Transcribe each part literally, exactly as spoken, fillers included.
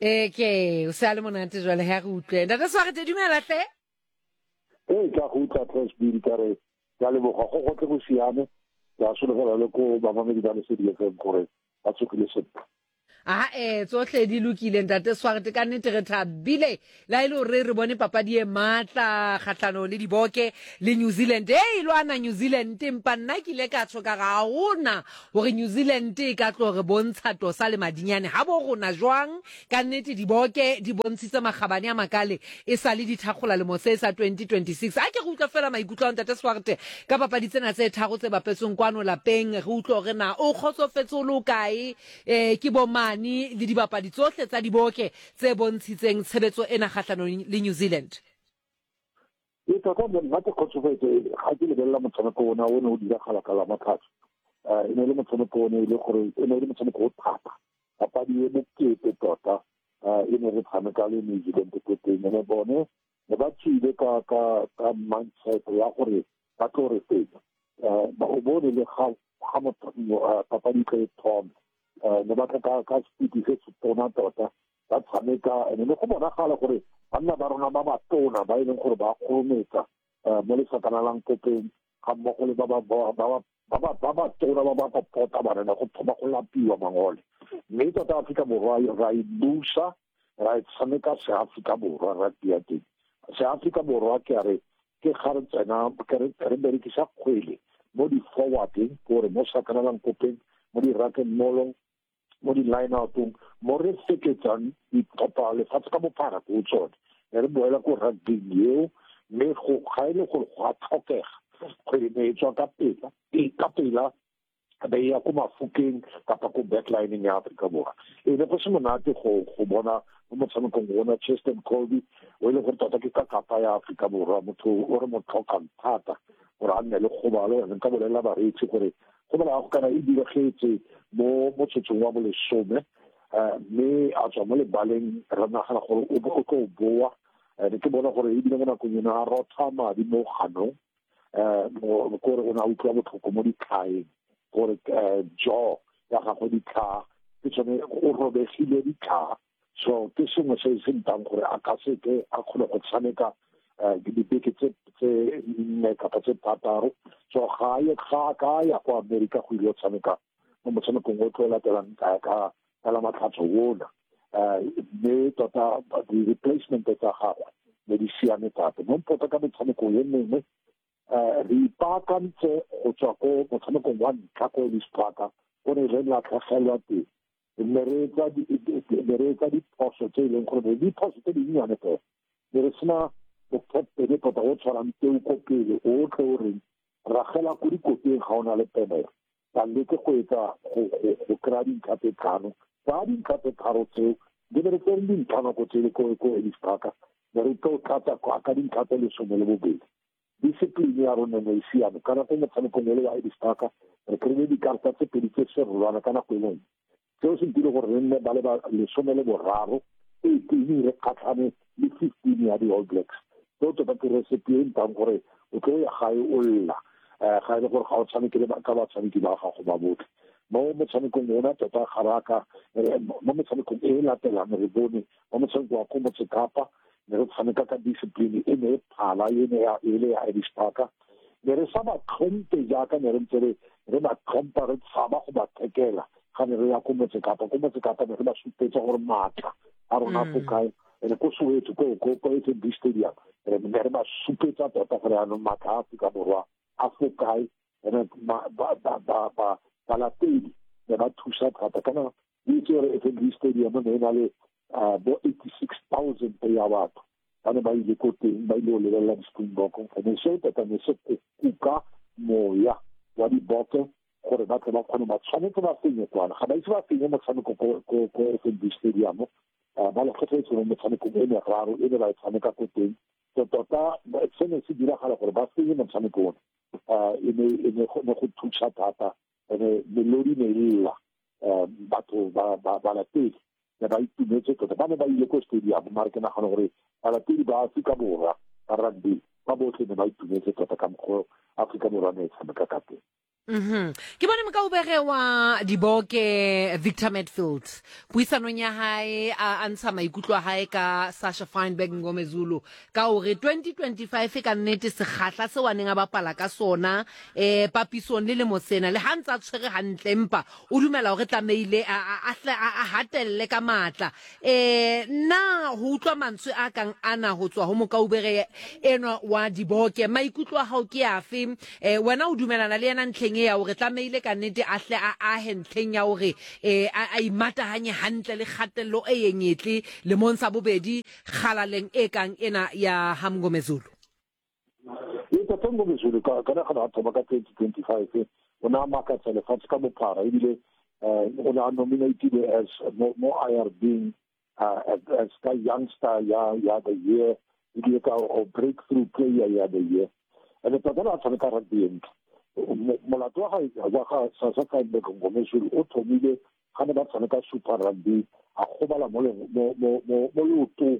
Ee, ke o se a le monate jwale ha re utlwe. Ntate Swarte, dumela hle. Ee, ke a go utlwa Trashbidi, ka re ke a leboga, go gotlhe go siame. Ke a sologela le ko bamamedi ba Lesedi F M gore ba tsogile sentle. A e tsohle di lokile, ntate Swarte, ka nnete re thabile la e le gore re bone papadi e matla kgatlhano le Diboke le New Zealand e e lwana New Zealand, empa nna ke ile ka tsho ka ga gona gore New Zealand e ka tlo re bontsha tosa le madinyane ga bo rona jwang. Ka nnete Diboke di bontshitse makgabane a makale e sa le dithakgola lemo se sa twenty twenty-six. A ke re utlwa fela maikutlo a ntate Swarte ka papadi tsena tse tharo tse bapetsweng kwano lapeng, re utlwe hore na o kgotsofetse o le o kae um ke bomane le dibapadi tsohle tsa Diboke tse bontshitseng tshebetso ena kgahlanong le New Zealand. E tota nna ke kgotsofetse ga ke lebelela motshameko ona o ne o diragala ka Lamatlhatso. E ne e le motshameko o ne e le gore e ne e le motshameko o thata, papadi e bokete tota e ne re tshameka le New Zealand ko teng. Ene bone ne ba tswile ka ka ka mindset ya gore ba tlo re fenya. O bone le ga ga papadi tlo e thoma, ne ba tla ka ka speed se se tona tota ba tshameka, ene le go bonagala gore banna ba rona ba batona ba e leng gore ba kgorometsa mo lesakana kopeng ga mmogo le ba ba ba ba ba ba tona ba ba popota bana go thoma go lapiwa mangole. Mme tota Aforika Borwa ra e busa, ra e tshameka se Aforika Borwa rugby ya teng. Se Aforika Borwa ke a re ke ga re tsena re berekisa kgwele mo di-forwardeng, gore mo sakanalang kopeng, mo di-ruck and maulong, mo di-line outong, mo re feketsang ditlhopha lefatshe ka bophara ko tsone. Ne re boela ko rugbyng eo, mme ga e le gore go a tlhokega, kgwele ne e tswa ka pela ka pela be ya ko mafokeng kapa ko backlining ya Aforika Borwa. E ne go se monate go go bona mo motshamekong ona Cheslin Kolbe, o e leng gore tota ke ka kapa ya Aforika Borwa, motho o re mo tlhokang thata gore a nne le kgobalo. Nka bolelela bareetsi gore kgobalo ya go kana e diregetse mo motsotsong wa bolesome, mme a tswa mo lebaleng. Re nagana gore o tlo boa. Ne ke bona gore ebile mo nakong eno a rotha madi mo ganong, um kore o ne a utlwa botlhoko mo ditlhaeng, gore jaw ya gagwe, ditlhaa ke tsone, o robegile ditlhaa. So ke sengwe se se ntang gore a ka seke a kgone go tshameka dibeke tse tse nne kapa tse thataro. So ga ye ga ka ya ko America go ile go tshameka mo motshamekong o tlo latelang ka ka ka la Matlhatso ona. Mme tota di-replacement tsa gagwe ne di siame thata mo mpota ka metshameko e mengwe. Re ipaakantse go tswa ko motshamekong wa ntlha ko Ellis Park, o ne re latlhegelwa teng. Ne re etsa diphoso tse e leng gore diphoso tse dinnyane fela, ne re sena bokaptene tota o tshwarang teu ko pele, o tle o reng ragela ko dikoteng ga o na le penelo, ba leke go etsa go kry-a dintlha tse tlhano. Tsa dintlha tse tharo tseo di be re tsere dintlha nako tsele ko Ellis Park, ne re tlo tlatsa ka dintlha tse lesome le bobedi. Discipline ya rona ne e siame ka nako motshamekong ole wa Ellis Park. Re kry-ile dikarata tse pedi tse serolwana ka nako e lengwe, seo se ntile gore re nne ba le lesome le boraro eighteen re kgatlhane le fifteen ya di-All Blacks. Seo tota ke recipe e ntang gore o tlo ya gae o lla um ga e le gore ga o tshameke ka batshameki ba gago ba botlhe mo motshamekong ona. Tota ga re ka mo metshamekong e e latelang re bone mo motshameko wa ko Motsekapa ne re tshameka ka discipline e ne e phala e ne e le ya Ellis Park. Ne re sa ba tlhompe jaaka ne re ntse re re ba tlhompa, re tshaba go ba thekela ga ne re ya ko Motsekapa. Ko Motsekapa ne re ba supetsa gore maatla a rona fo kae, ene ko Soweto ko ko ko F N B Stadium re ne re ba supetsa tota gore anong maatla a Aforika Borwa a fo kae. Ene ba balatedi ne ba thusa thata kana o itse gore F N B Stadium ne e na le bo eighty six thousand ya batho ba ne ba ile ko teng, ba ile go lebelela di-Springbok. Ene seo tota ne se kuka moya wa Diboke gore ba tle ba kgone, ba tshwanetse ba fenye kwana. Ga ba ise ba fenye motshameko ko F N B Stadium, ba lekgetlhetse mo metshamekong e meraro e ne ba e tshameka ko teng. So tota se ne se diragala gore ba fenye motshameko ona e ne ne go thusa thata. Ene melodi ne e lla, batho balatedi ne ba itumetse tota, ba ne ba ile ko stadium. Mare ke nagana gore balatedi ba Aforika Borwa ba rugby ba botlhe ne ba itumetse tota ka mokgwa Aforika Borwa ne e tshameka ka teng. Mhm. Ke bone mokaubere wa Diboke Victor Medfield puisanong ya hae a a ntsha maikutlo a hae ka Sasha Feinberg Mngomezulu ka hore twenty twenty-five ka nnete sekgahla seo a neng a bapala ka sona eh papisong le lemo sena le ha ntse a tshwere hantle empa o dumela hore tlamehile a a a a hatelle ka matla. Eh na ho utlwa mantswe a kang ana ho tswa ho mokaubere enwa wa Diboke, maikutlo a hao ke afe? Eh wena o dumelana le yena ntlheng ya hore tlamehile ka nnete a hle a ahe ntlheng ya hore eh a imatahanye hantle le kgatello e yeng etle lemong sa bobedi kgalaleng e kang ena ya ha Mngomezulu? E tota Mngomezulu ka ka nagana a thoma ka twenty twenty-five o ne a makatsa lefatshe ka bophara ebile o ne a nominated as mo mo I R B as ka youngster ya ya the year ebile ka o breakthrough player ya the year. And tota a tshameka rugby e ntle. Molato wa ga wa ga Sasha Feinberg Mngomezulu o thomile ga ne ba tshameka Super Rugby a gobala mo mo mo mo leotong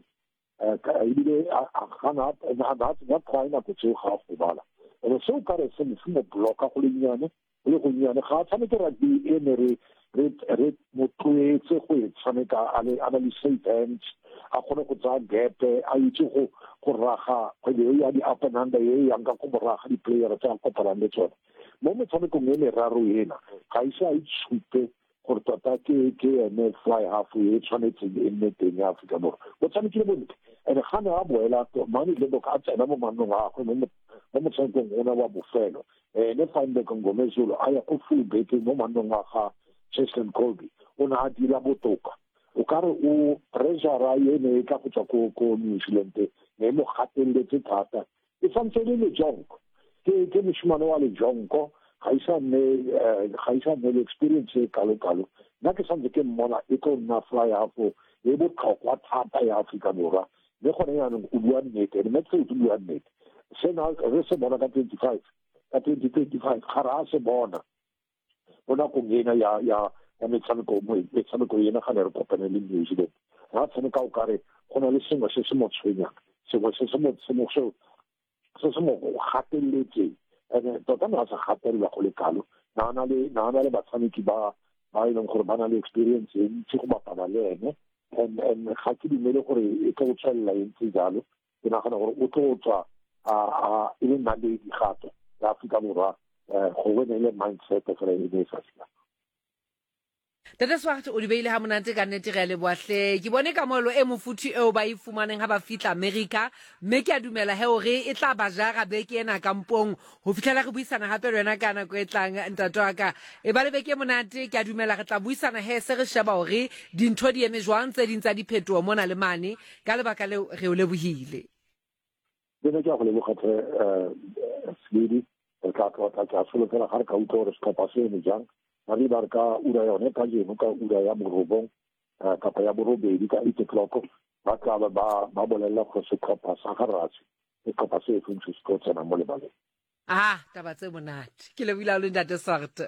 ebile a gana a tsenya try nako tseo ga a gobala. And seo ka re se se mo blocka go le nnyane go le gonnyane ga a tshameke rugby e ne re re re mo tlwaetse go e tshameka a le a na le safe hands, a kgone go tsaya gap, a itse go go raga kgwele e ya di-up and under e yang ka go moraga di-player tse a kopanang le tsone. Mo metshamekong e meraro ena ga ise a itshupe gore tota ke ke ene fly half e tshwanetseng e nne teng ya Aforika Borwa. O tshamekile bontle and ga ne a boela Mane Libbok a tsena mo mannong a gagwe mo motshamekong ona wa bofelo, ene Feinberg Mngomezulu a ya ko full back mo mannong a ga Cheslin Kolbe, o ne a dira botoka. O ka re o pressure e ne e tla go tswa ko ko New Zealand ne mo gateletse thata. E santse le lejonko ke ke moshimane wa lejonko ga isa nne ga isa nne le experience e kalo-kalo. Nna ke santse ke mmona e tlo nna fly half e botlhokwa thata ya Aforika Borwa. Mme gone jaanong o bua nnete, and Medfield o bua nnete. Sena re se bona ka twenty-five ka twenty twenty-five ga re a se bona mo nakong ena ya ya ya metshameko metshameko ena ga ne re kopane le New Zealand. Ra tshameka o kare go na le sengwe se se mo tshwenyang, sengwe se se mo se mo se se mo gateletseng. And tota ne a sa gatelelwa go le kalo. Na na le na na le batshameki ba ba e leng gore ba na le experience e ntsi go bapala le ene. And and ga ke dumele gore e tlo tswelela e ntse jalo. Ke nagana gore o tlo tswa a a e le naledi gape ya Aforika Borwa gongwe ne e le mindset fela e ne e sa siama. Tata Swart o di beile ha monate ka nnete, re a leboha hle. Ke bone kamohelo e mofuthu eo ba e fumaneng ha ba fihla America, mme ke a dumela he hore e tla ba jara beke ena kampong ho fihlela re buisana hape le wena ka nako e tlang ntate wa ka. E ba le beke e monate, ke a dumela re tla buisana he se re sheba hore dintho di eme jwang, tse ding tsa diphetoho mona le mane. Ka lebaka leo re o lebohile. Ke ne ke a go leboga tlhe Seledi, re tla tlotla ke a solofela ga re ka utlwa gore setlhopha se eme jang. Re ba re ka ura yone kajeno ka ura ya borobong kapa ya borobedi ka eight o'clock ba tla ba ba bolela gore setlhopha sa ga Rassie setlhopha se feng se se tlo tsena mo lebaleng. Ah, taba tse monate. Ke lebohile haholo ntate Swart.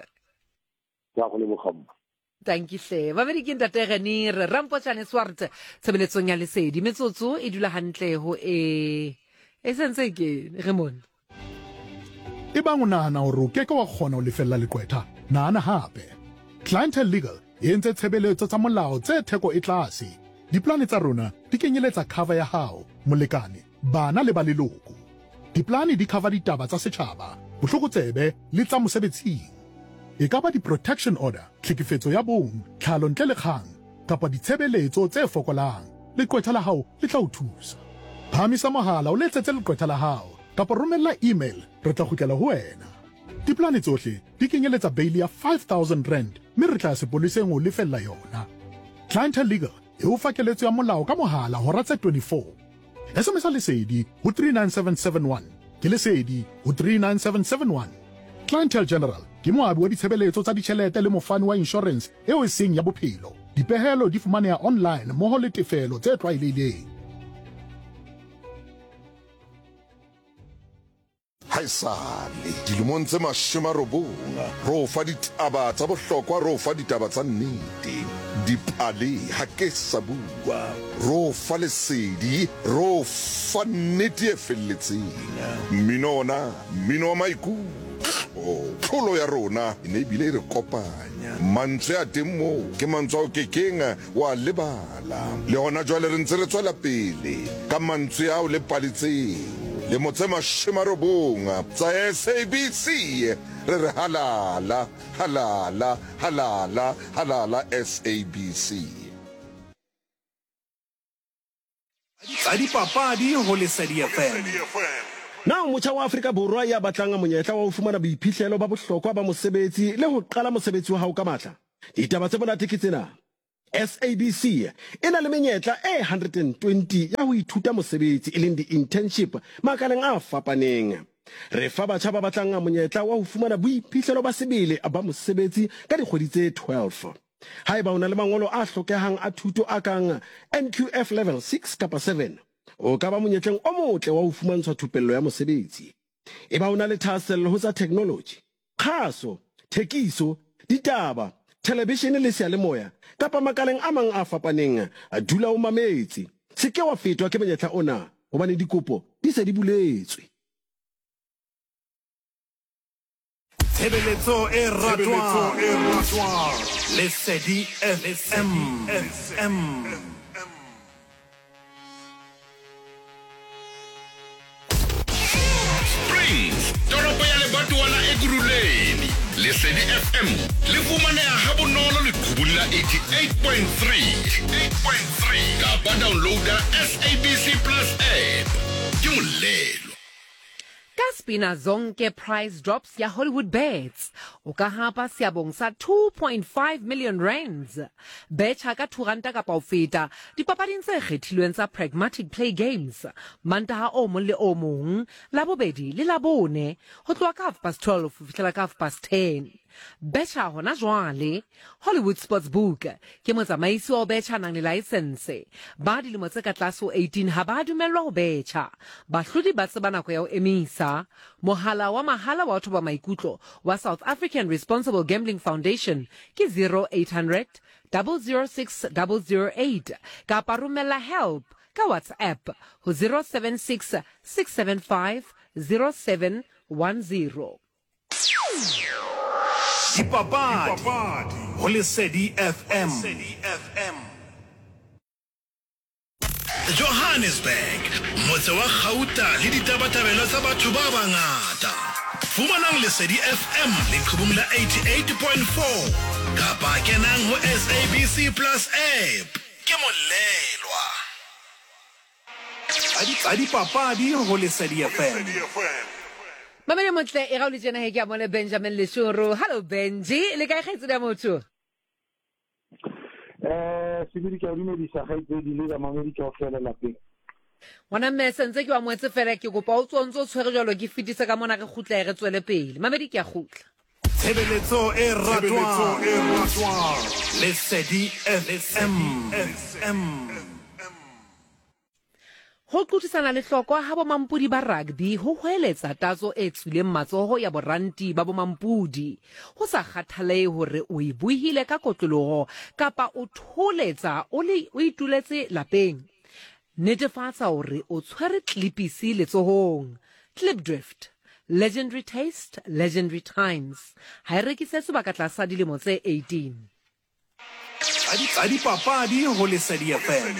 Ke a go leboga mma. Thank you hle. Babedi ke ntate Renier Rampotjane Swart tshebeletsong ya Lesedi. Metsotso e dula hantle ho e e sentse ke re mona. Ebang o nahana hore o keke wa kgona ho lefella leqwetha, nahana hape. Clientele Legal e entse tshebeletso tsa molao tse theko e tlase. Diplane tsa rona di kenyeletsa cover ya hao, molekane, bana le ba leloko. Diplane di cover ditaba tsa setjhaba, bohlokotsebe le tsa mosebetsing. E ka ba di-protection order, tlhekefetso ya bong, tlhalo ntle le kgang, kapa ditshebeletso tse fokolang. Leqwetha la hao le tla o thusa. Phahamisa mohala o letsetse leqwetha la hao kapa romella email, re tla kgutlela ho wena. Diplane tsohle di kenyeletsa bail ya five thousand rand mme re tla sepoleseng ho lefella yona. Clientele Legal e o fa keletso ya molao ka mohala hora tse twenty-four. S M S Lesedi ho three nine seven seven one. Ke Lesedi ho three nine seven seven one. Clientele General ke moabi wa ditshebeletso tsa ditjhelete le mofani wa insurance eo e seng ya bophelo. Dipehelo di fumaneha online mmoho le tefelo tse tlwaelehileng. Haesale dilemong tse mashome a robong re o fa ditaba tsa bohlokwa, re o fa ditaba tsa nnete, dipale ha ke sa bua, re o fa lesedi, re o fa nnete e felletseng. Mmino ona, mmino wa maikutlo. Tshepo. Tlholo ya rona e ne ebile e re kopanya. Mantswe a teng moo ke mantswe ao kekeng wa lebala. Le hona jwale re ntse re tswela pele ka mantswe ao le pale tseo. Lemo tse mashome a robong tsa S A B C re re halala, halala, halala, halala S A B C. Tsa dipapadi ho Lesedi F M. Na o motjha wa Afrika Borwa ya batlang monyetla wa ho fumana boiphihlelo ba bohlokwa ba mosebetsi le ho qala mosebetsi wa hao ka matla? Ditaba tse monate ke tsena. S A B C e na le menyetla e hundred twenty ya ho ithuta mosebetsi e leng di-internship makaleng a fapaneng. Re fa batjha ba batlang monyetla wa ho fumana boiphihlelo ba sebele ba mosebetsi ka dikgwedi tse twelve. Haeba o na le mangolo a hlokehang a thuto a kang N Q F level six kapa seven, o ka ba monyetleng o motle wa ho fumantshwa thupello ya mosebetsi. Eba o na le thahasello ho tsa technology, kgaso, thekiso, ditaba, television le seyalemoya kapa makaleng a mang a fapaneng, dula o mametse. Se ke wa fetwa ke monyetla ona hobane dikopo di se di buletswe. Tshebeletso e ratwang, Lesedi F M. Springs, toropo ya lebatowa la Ekurhuleni. Lesedi F M le fumaneha ha bonolo leqhubung la eighty-eight point three, eight point three kapa downloada S A B C Plus app. Ke molelo. Ka Spina Zonke price drops ya Hollywood Bets. O ka hapa seabong sa two point five million rands. Betjha ka two ranta kapa ho feta dipapading tse kgethilweng tsa Pragmatic Play Games. Mantaha o mong le o mong, Labobedi le Labone, ho tloha ka half past twelve ho fihlela ka half past ten. Betjha hona jwale. Hollywood Sportsbook ke motsamaisi wa ho betjha nang le license. Ba dilemo tse ka tlase ho eighteen ha ba dumellwa ho betjha. Bahlodi ba tseba nako ya ho emisa. Mohala wa mahala wa ho thoba maikutlo wa South African Responsible Gambling Foundation ke zero eight hundred, double zero six, double zero eight kapa romela help ka WhatsApp ho zero seven six, six seven five, zero seven one zero. Dipapadi ho Lesedi F M. Johannesburg, motse wa kgauta le ditabatabelo tsa batho ba bangata. Fumanang Lesedi F M leqhubung la eighty-eight point four kapa kenang ho S A B C Plus app. Ke molelwa. Tsa dipapadi ho Lesedi F M. Mamele motle e ga o le tjena he ke a mone Benjamin Leshoro. Hello Benji, le kae kgaitsedi ya motho? Eh, sebedi ke a dumedisa kgaitsedi le bamamedi kaofela lapeng. Ngwana mme sentse ke wa moetse fela ke kopa o tswe o ntse o tshwere jwalo ke fetise ka mona re kgutla re tswele pele. Mamedi ke a kgutla. Tshebeletso e ratwang, Lesedi F M. Ho qothisana le hlokwa ha bomampodi ba rugby ho hweletsa tatso e tswileng matsoho ya boranti ba bomampodi. Ho sa kgathalehe hore o e buhile ka kotloloho kapa o tholetsa o le o ituletse lapeng. Netefatsa hore o tshwere clipisi letsohong. Klipdrift, legendary taste, legendary times. Ha e rekisetswe ba ka tlasa dilemo tse eighteen. Tsa dipapadi ho Lesedi F M.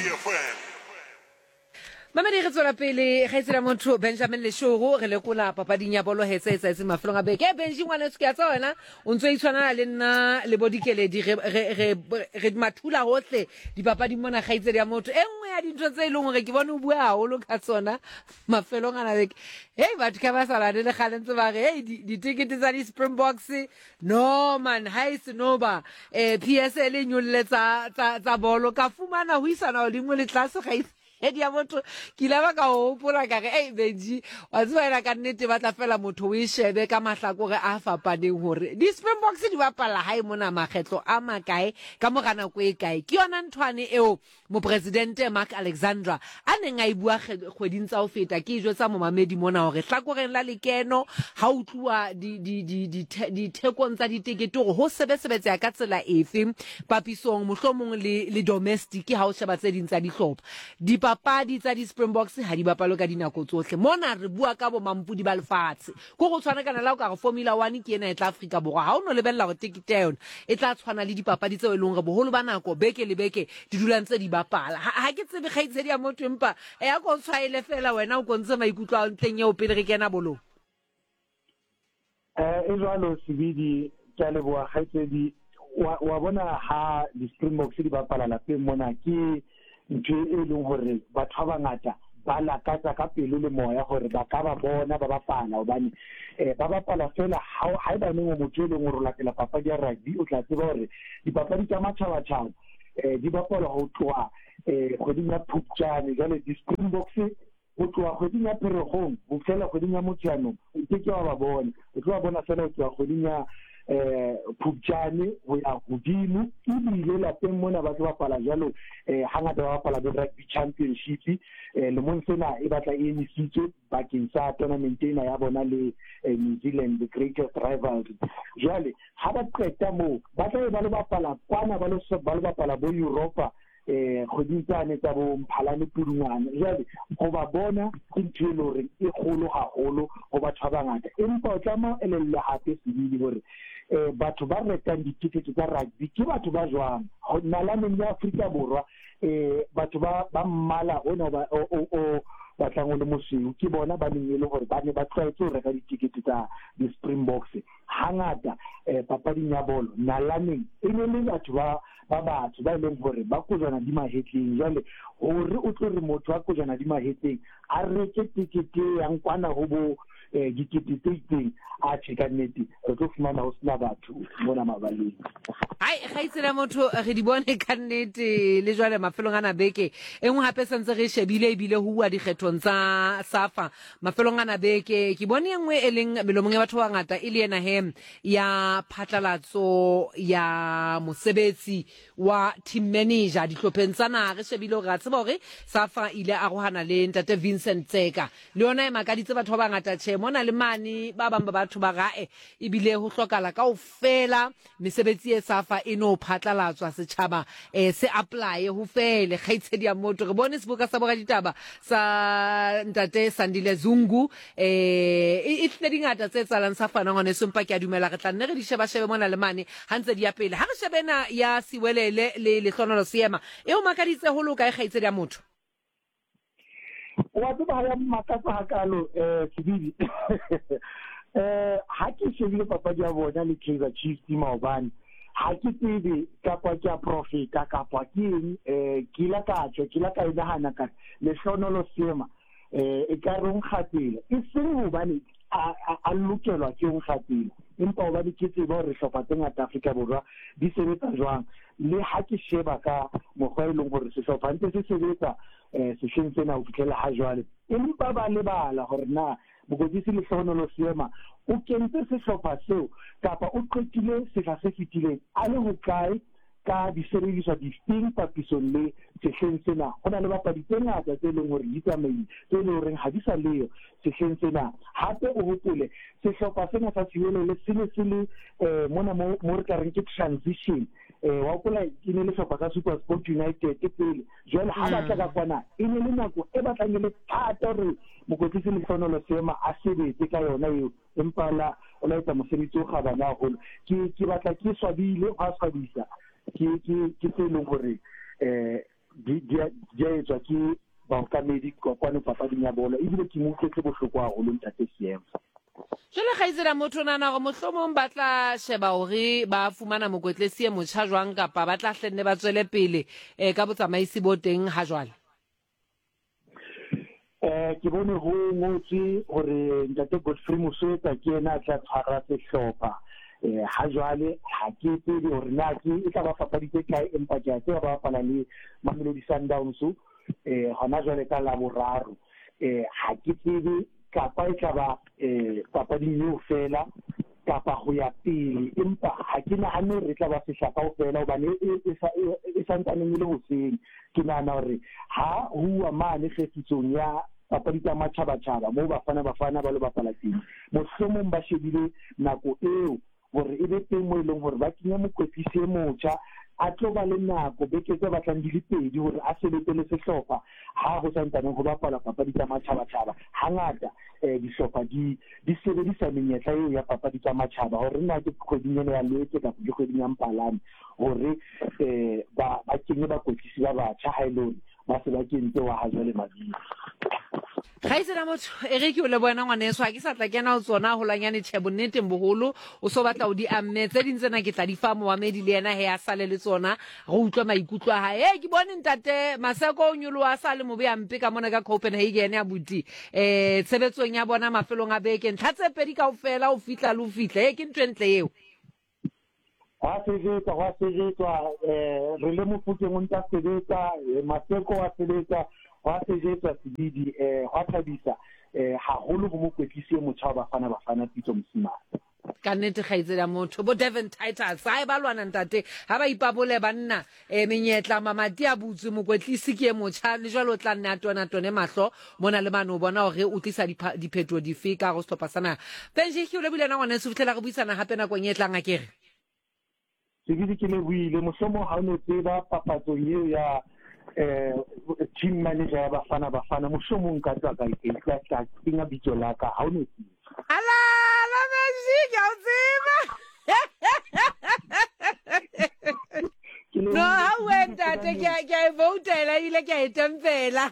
Mamedi re tswela pele kgaitsedi motho Benjamin Leshoro re lekola papading ya bolo hetse etsa mafelong a beke. Benji ngwaneso ke a tseba wena o ntso itshwanela le nna le bo Dikeledi re re re mathula hohle dipapading mona kgaitsedi ya motho. E nngwe ya dintho tse e leng hore ke bone o bua haholo ka tsona mafelong ana beke. Hey batho ka ba sa lane le kgale ntse ba re hey ditikete tsa di Springboks no man ha e se no ba eh P S L e nyolle tsa tsa bolo ka fumana ho isana hodimo le tlase kgaitsedi edi ya motho ke ile ba ka hopola ka re ei Benji wa tseba ena ka nnete ba tla fela motho o e shebe ka mahlakore a fapaneng hore di Springboks di bapala hae mona makgetlo a makae ka mora nako e kae. Ke yona nthwane eo mopresidente Mark Alexandra a neng a e bua kgweding tsa ho feta. Ke jwetsa momamedi mona hore hlakoreng la lekeno ha o tluwa di di di dithekong tsa ditekete hore ho sebesebetseha ka tsela efe papisong mohlomong le le domestic ha o sheba tse ding tsa dihlopha. Dipapadi tsa di-Springboks ha di bapalwe ka dinako tsohle. Mona re bua ka bomampodi ba lefatshe. Ko go tshwana kana la o ka re Formula One ke ena e tla Afrika Borwa. Ha o no lebella hore tekete ya yona e tla tshwana le dipapadi tseo e leng hore boholo ba nako beke le beke di dula ntse di bapala. Ha, ha ke tsebe kgaitsedi ya motho, empa e ya ko tshwaele fela wena o ko ntshe maikutlo a ntleng eo pele re kena bolong. Eh, e jwalo Sebidi, ke a leboha kgaitsedi. Wa, wa bona ha di-Springboks di bapala lapeng mona, ke ntho e leng hore batho ba bangata ba lakatsa ka pelo le moya hore ba ka ba bona ba bapala, hobane eh, ba bapala fela ha haebaneng o motho e leng hore o latela papadi ya rugby, o tla tseba hore dipapadi tsa matjhabatjhaba eh, di bapalwa ho tloha eh, kgweding ya Phupjane. Jwale di-Springboks ho tloha kgweding ya Pherekgong ho fihlela kgweding ya Motsheanong o ke ke wa ba bona, o tlo ba bona fela ho tloha kgweding ya eh Phupjane ho ya hodimo. Ebile lapeng mona ba tlo bapala jwalo, eh hangata ba bapala bo rugby championship, eh lemong sena e batla e emisitswe bakeng sa tournament ena ya bona le eh, New Zealand, the greatest rivalry. Jwale ha ba qeta moo ba tla be ba lo bapala kwana, ba lo ba lo bapala bo Europa eh kgweding tsane tsa bo Mphalane, Pudungwana. Jwale ho ba bona ke ntho e leng hore e kgolo haholo ho batho ba bangata, empa o tlameha o elellwe hape Sebidi hore eh batho ba rekang ditikete tsa rugby ke batho ba jwang. Nalaneng ya Afrika Borwa eh batho ba ba mmala ona ba o o batlang o le mosweu ke bona ba neng e le hore ba ne ba tlwaetse ho reka ditikete tsa di-Springboks hangata. eh papading ya bolo nalaneng e ne le batho ba ba batho ba e leng hore ba kojwana di mahetleng. Jwale hore o tlo re motho wa kojwana di mahetleng a reke tekete e yang kwana ho bo eh dikete tse itseng, a tjhe, ka nnete re tlo fumana ho sena batho mona mabaleng. Hai, kgaitsedi motho, re di bone ka nnete le jwale mafelong ana beke e nngwe hape sentse re shebile, ebile ho uwa dikgethong tsa SAFA mafelong ana beke, ke bone e nngwe e leng melomong ya batho ba bangata e le ena he ya phatlalatso ya mosebetsi wa team manager dihlopheng tsa naha. Re shebile hore ra tseba hore SAFA ile arohana le ntate Vincent Tseka, le yona e makaditse batho ba bangata. Tjhe, mona le mane ba bang ba batho ba rae ebile ho hlokala kaofela mesebetsi e SAFA e no phatlalatswa setjhaba eh se apply ho fele. Kgaitsedi ya motho, re bone seboka sa boraditaba sa ntate Sandile Zungu, eh e tlile dingata tse tsalang sa fana ngwane sempa. Ke a dumela re tla nne re di sheba shebe mona le mane ha ntse di ya pele. Ha re shebena ya Siwelele le Lehlohonolo Seema, e o makaditse ho loka e kgaitsedi ya motho? Wa tseba ha ya mmakatsa hakalo eh Sebidi, eh ha ke shebile papadi ya bona le Kaizer Chiefs maobane, ha ke tsebe kapa ke a profita kapa ke eng, eh ke ile ka tswa ke ile ka e nahana ka Lehlohonolo Seema eh e ka re o nkgatsela, e seng hobane a a lokelwa ke ho nkgatsela, empa hobane ke tseba hore hlopha tse ngata Afrika Borwa di sebetsa jwang. Le ha ke sheba ka mokgwa e leng hore sehlopha ntse se sebetsa eh sehleng sena ho fihlela ha jwale, empa ba lebala hore na mokwetlisi Lehlohonolo Seema o kentse sehlopha seo kapa o qetile sehla se fetileng a le hokae ka disebediswa difeng papisong le sehleng sena. Ho na le bapadi tse ngata tse leng hore di tsamaile, tse leng horeng ha di sa leyo sehleng sena. Hape o hopole sehlopha sena sa Siwelele se ne se le eh mona mo mo re ka reng ke transition. eh wa hopola e ne le sehlopha sa SuperSport United pele, jwale ha batla ka kwana e ne le nako e batlang e le thata hore mokwetlisi Lehlohonolo Seema a sebetse ka yona eo, empa la o la etsa mosebetsi o kgabane haholo. Ke ke batla ke swabile, ho a swabisa, ke ke ke tse leng hore eh di di di a etswa ke baokamedi kwano papading ya bolo, ebile ke mo utlwetse bohloko haholo ntate Seema. Jwale kgaitsedi motho, nahana hore mohlomong ba tla sheba hore ba fumana mokwetlisi e motjha jwang, kapa ba tla hlenne ba tswele pele eh ka botsamaisi bo teng ha jwale? Eh ke bone ho ngotswe hore ntate Godfrey Moswetsa ke yena a tla tshwara sehlopha eh ha jwale. Ha ke tsebe hore na ke e tla ba papadi tse kae, empa ke a tseba ba bapala le Mamelodi Sundowns eh hona jwale ka Laboraro. eh ha ke tsebe kapa e tla ba eh papading eo fela kapa ho ya pele, empa ha ke nahane hore e tla ba sehla kaofela, hobane e e santsaneng e le hoseng. Ke nahana hore ha ho uwa mane kgefitsong ya papadi tsa matjhabatjhaba moo Bafana Bafana ba lo bapala teng, mohlomong ba shebile nako eo hore e be teng moo e leng hore ba kenya mokwetlisi e motjha A tlo ba le nako beke tse batlang di le pedi hore a sebetse le sehlopha ha ho santsaneng ho bapala papadi tsa matjhabatjhaba. Hangata eh dihlopha di di sebedisa menyetla eo ya papadi tsa matjhaba hore na ke kgweding ena ya Lwetse kapa ke kgweding ya Mphalane hore eh ba ba kenye bakwetlisi ba batjha ha e le hore ba se ba kentse wa ha jwale mabitso. Kgaitsedi motho e re ke o lebohela ngwaneso, ha ke sa tla kena ho tsona holwanyane. Tjhe, bonneteng boholo o so batla o di amme tse ding tsena ke tla di fa momamedi le yena he a sale le tsona re utlwe maikutlo a hae. Ke bone ntate Maseko o nyoloha a sa le mobe a mpe ka mona ka Copenhagen ya buti eh tshebetsong ya bona mafelong a beke ntlha tse pedi kaofela o fihla le o fihla. E ke ntho e ntle eo. Hwa sebetsa, hwa sebetswa, eh re le Mofokeng o ntsa sebetsa, Maseko wa sebetsa, hwa sebetswa Sebidi, eh hwa thabisa eh haholo ho mokwetlisi e motjha wa Bafana Bafana Pitso Mosimane. Ka nnete kgaitsedi ya motho bo Devon Titus ha e ba lwana ntate ha ba ipabole banna eh menyetla mamati a butswe mokwetlisi ke e motjha le jwale o tla nne a tona tone mahlo mona le mane o bona hore o tlisa diphetoho dife ka go sehlopha sa naha. Benji ke o lebohile na ngwaneso ho fihlela re buisana hape nakong e tlang akere. Sebidi ke lebohile mohlomong ha o no tseba papatsong eo ya eh team manager ya Bafana Bafana mohlomong ka tswa ka e tla tla kenya bitso la ka ha o no tseba. Ala la Benji ke a o tseba. No ha o ntate ke a ke a e voutela ebile ke a e tempela.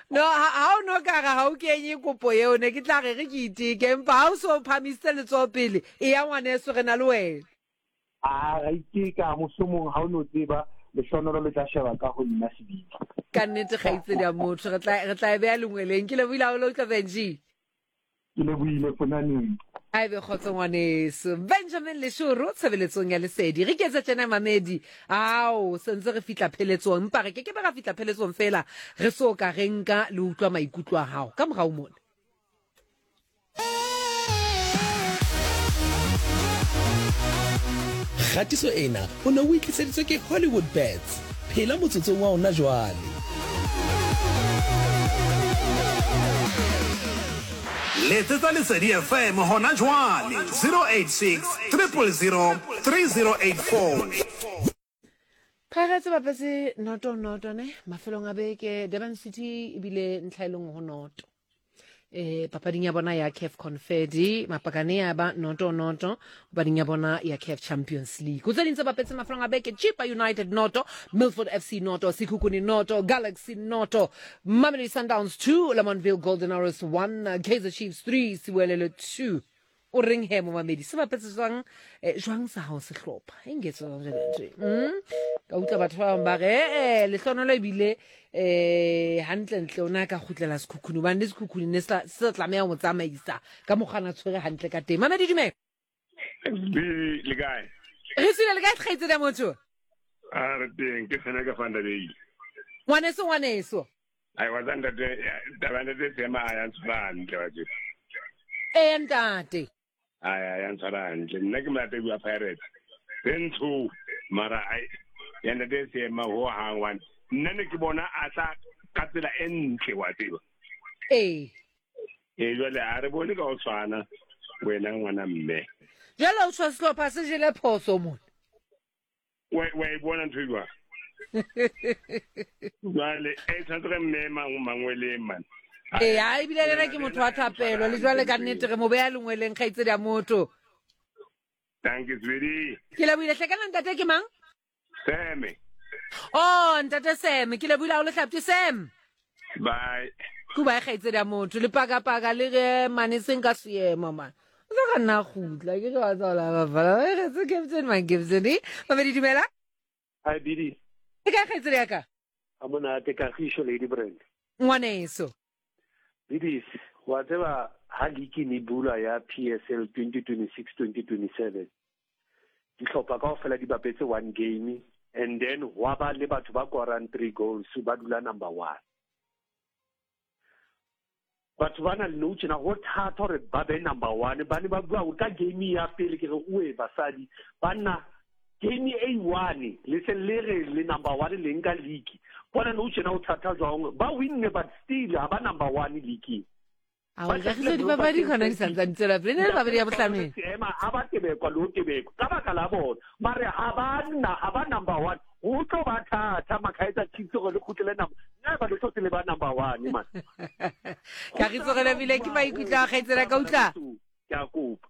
No ha o no ka re ha o kenye kopo eo ne ke tla re re ke iteke empa ha o so phamisitse letsoho pele e ya ngwaneso re na le wena. A ra iteka mohlomong ha o no tseba lehlonolo le tla sheba ka ho nna Sebidi. Ka nnete kgaitsedi ya motho re tla re tla e beha lengweleng. Ke lebohile haholo utlwa Benji. Ke lebohile fonaneng. A ebe kgotso ngwaneso. Benjamin Leshoro tshebeletsong ya Lesedi. Re ketse tjena mamedi. Ao sentse re fihla pheletsong empa re ke ke be ra fihla pheletsong fela re so ka re nka le utlwa maikutlo a hao ka morao mona. Kgatiso ena o ne o itliseditswe ke Hollywood Bets. Phela motsotsong wa ona jwale. Letsetsa Lesedi F M hona jwale zero eight six, triple zero, three zero eight four. Pirates ba bapetse noto noto ne mafelong a beke Durban City ebile ntlha e le nngwe ho noto. Eh papading ya bona ya C A F Confedi mapakane ya ba noto noto papading ya bona ya C A F Champions League. Ho tse ding tse bapetse mafelong a beke Chippa United noto, Milford F C noto, Sekhukhune noto, Galaxy noto, Mamelodi Sundowns two, Lamontville Golden Arrows one, Kaizer Chiefs three, Siwelele two. O reng he momamedi se bapetse jwang eh, jwang sa hao sehlopha e nketse jwang jwale ntho mm ka utlwa batho ba bang ba re eh lehlonolo ebile eh hantle ntle ona ka kgutlela Sekhukhune hobane le Sekhukhune ne se sa tlameha ho tsamaisa ka mokgwa tshwere hantle ka teng. Mamedi dumela. Le kae? Re tsile le kae kgaitsedi ya motho? A re teng ke sena ka fanda bei. Ngwaneso ngwaneso. Ai wa tsanda te taba ntate sema ya ntshwara hantle wa tse. Eh ntate. Ai ai ya ntshwara hantle nna ke molatedi wa Pirates. Ntsho mara ai ya ntate sema ho hang one. Nna ne ke bona a tla ka tsela e ntle wa tseba. Eh. Eh jwale a re bone ka o tshwana wena ngwana mme. Jwale o tshwa sehlopha se jele phoso mona. Wa wa e bona ntho e jwang? Jwale e tshwanetse re mme mang mangweleng man. Eh ha ebile le nna ke motho wa thapelo le jwale ka nnete re mo beha lengweleng kgaitsedi ya motho. Thank you sweetie. Ke lebohile hle kana ntate ke mang? Seme. Oh ntate Sam ke lebohile haholo hlapti Sam. Bye. Kuba e kgaitsedi ya motho le paka paka le re mane seng ka seemo man. O tla ka nna kgutla ke re wa tswala ba bala re tse Captain man Captain eh Mamedi dumela. Hi Bidi. Ke ka kgaitsedi ya ka? A monate Kagisho Lady Brand. Ngwaneso. Bidi wa tseba ha league ne bula ya P S L twenty twenty-six twenty twenty-seven. Dihlopha kaofela di bapetse one game and then wa ba le batho ba korang three goals ba dula number one. Batho ba na le nou tjena ho thata hore ba be number one ba ne ba bua hore ka game ya pele ke re oe basadi banna game e one le se le re le number one le nka league bona nou tjena ho thata jwang ba winne but still ha ba number one league. Ao kagiso dipapadi gona di santsane tswela pele ne le papadi ya bohlano ema a ba tebekwa le ho tebekwa ka baka la bona mare ha ba nna ha ba number one ho tlo ba thata Kaizer Chiefs gore le kgutlele number nna ba le tlo le ba number one man Kagiso re lebile ke maikutlo a kgaitsela ka utlwa ke a kopa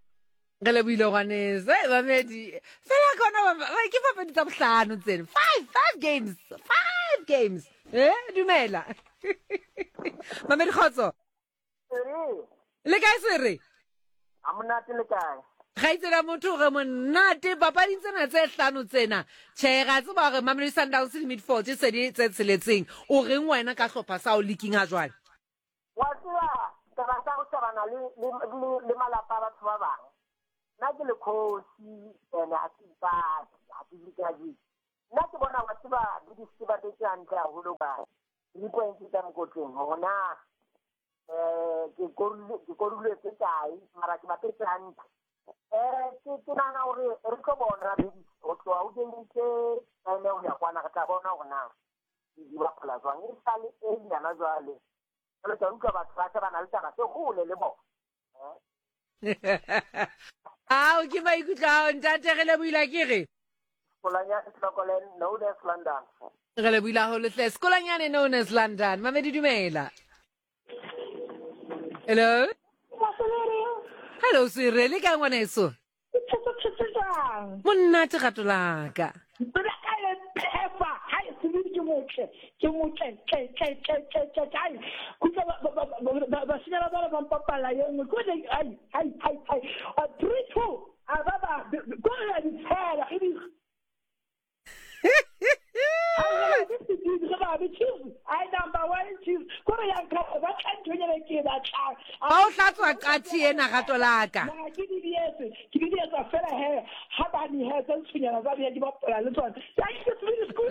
re lebohile ngwaneso mamedi fela kona ke papadi tsa bohlano tseno five five games five games eh dumela mamedi kgotso le kae sere a monate le kae kgaitsela motho re monate papading tsena tse hlano tsena tjhe ra tseba hore Mamelodi Sundowns le Midfield se di tse tsheletseng o reng wena ka hlopha sa o leaking ha jwale wa tseba taba tsa go shebana le le le malapa a batho ba bang nna ke le kgosi ene ha ke ipate ha ke dikaji nna ke bona wa tseba le di ba tse hantle haholo ba di points tsa mokotleng hore na eh ke korulo ke koruletse kae mara ke bapetse hantle eh ke ke nahana hore re tlo bona ho tloha ho game tse nine ho ya kwana re tla bona hore na di bapala jwang e sale e nyana jwale jwale ka utlwa batho ba shebana le taba tse hole le bona ao ke maikutlo ao ntate re lebohile ke re Sekolanyane Hlokolen known as London re lebohile haholo hle Sekolanyane known as London mamedi dumela hello hello sire le kae ngwaneso monate gato laka ke motle tle tle tle tle tle ai kutlwa bashanyana ba ba mpapalla ye nngwe ko ai ai ai ai a three two a ba ba ko re di tshela e di ai number one Chiefs ko re yang ka ba tla nthonyana ke ba tla ba o hlatswa qathi ena gato laka na ke di dietse ke di dietsa fela he ha ba ni he tsa ntshonyana tsa di bapala le tsona thank you to school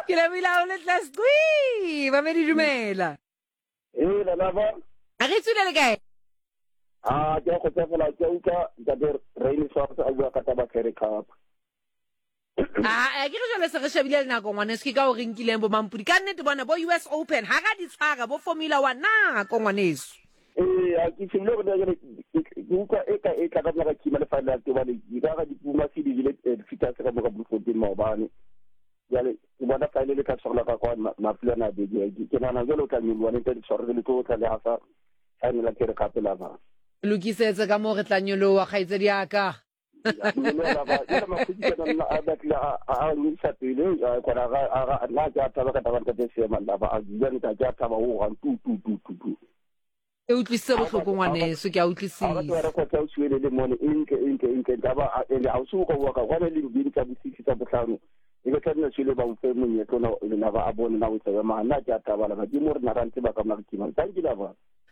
ke lebohile haholo hle squi mamedi dumela ee lelapa a re tswile le kae a ke a kgotsofala ke utlwa ntate Rain Swartz a bua ka taba Currie Cup ah ke re jwale se re shebile le nako ngwaneso ke ka o re nkileng bo mampudi ka nnete bona bo U S Open ha ra di tshwara bo Formula One nako ngwaneso ee a ke shebile gore ke utlwa e ka e tla ka mora kima le final ke bane di ka ga di Puma se di jele fita se ka moka Bloemfontein maobane jwale ke bona final e tla tshwarelwa ka kwa mafelo a beke ke nahana jwale o tla nyoloha le ntate tshwarele le tlo tla le hafa final ya Currie Cup la ba lokisetse ka moo re tla nyoloha kgaitsedi ya ka e utlwisitse bohloko ngwaneso ke a utlwisisa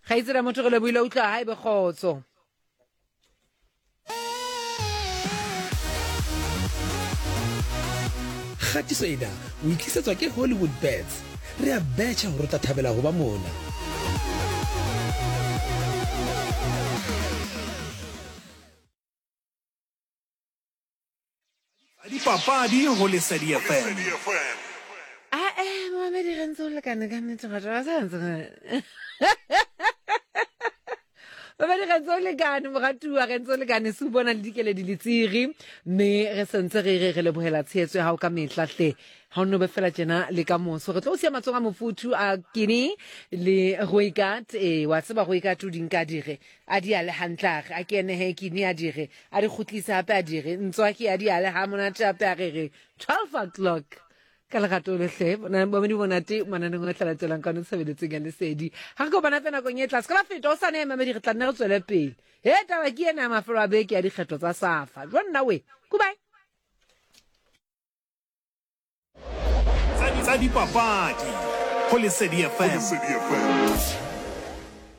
kgaitsedi motho re lebohile utlwa ha ebe kgotso Kgatiso ena o itlisetswa ke Hollywood Bets. Re a betjha hore o tla thabela ho ba mona. Dipapadi ho Lesedi F M. Ah eh mamedi re ntse o lekane ka nnete batho ba sa ntse. Mamedi re ntse o lekane moratuwa re ntse o lekane se o bona le dikeledi le tsiri mme re sentse re re re lebohela tshehetso ya hao ka mehla hle ha o no be fela tjena le ka moso re tlo o siya matsoho a mofuthu a kini le Roikat e wa tseba Roikat o di nka dire a di ale hantle a re a ke ene he kini a dire a di kgutlise hape a dire ntswaki a di ale ha monate hape a re re twelve o'clock ka lerato le hle mamedi monate mananeng a tla latelang ka no tshebeletseng ya Lesedi ha re kopana hape nakong e tla se ka la feta o sa ne mamedi re tla nne re tswele pele he taba ke ena ya mafelo a beke ya dikgetho tsa Safa jwa nna we goodbye Tsa dipapadi ho Lesedi F M.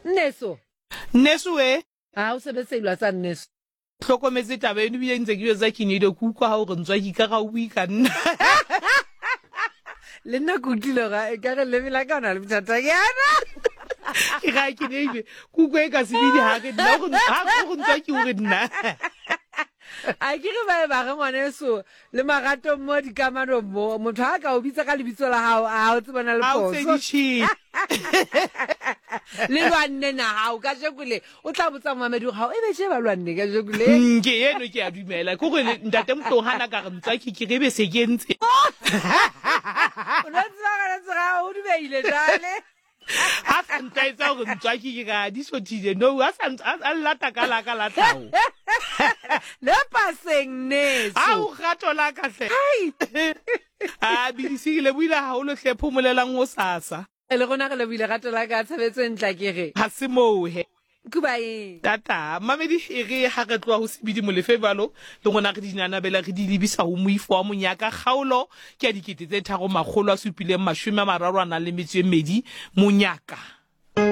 Nneso Nneso we ha o sebetse ilwa tsa nneso hlokometse taba eno ebile ntse ke jwetsa Kinedo ke utlwa ha o re ntswa ke ka ga o bue ka nna le nna ke utlwile ga e ka re leme la ka o na le bothata-nyana ke ga ke neile kuko e ka sebidi ha re nna go ha go ntswa ke o re nna A ke re ba e ba re ngwaneso le maratong mo dikamanong mo motho ha ka o bitsa ka lebitso la hao a o tsebana le Ha o phoso. tse Le lwanne na hao ka jeko le o tla botsa momamedi hore hao e be tje ba lwanne ka jeko le. Mm, ke eno ke a dumela ke gore ntate Motlong hana ka re ntswaki ke re be se ke ntse. O no tseba ka tsega o dubeile jwale. Ha sa ntaetsa hore ntswaki ke ka di sothile no a sa a a llata ka la ka la tlhaho. Le paseng neso. A o rato la ka hle. A bidisi le buile haholo hle phomolelang ho sasa. Le rona re lebohile rato la ka tshebetso e ntla ke re. Ha se moo he. Kubae. Tata, mamedi e re ha re tloha ho Sebidi Molefe jwalo, le rona re dinanabela re di lebisa ho moifo wa monyaka kgaolo ke ya dikete tse tharo makgolo a supileng mashome a mararo a nang le metso e mmedi monyaka.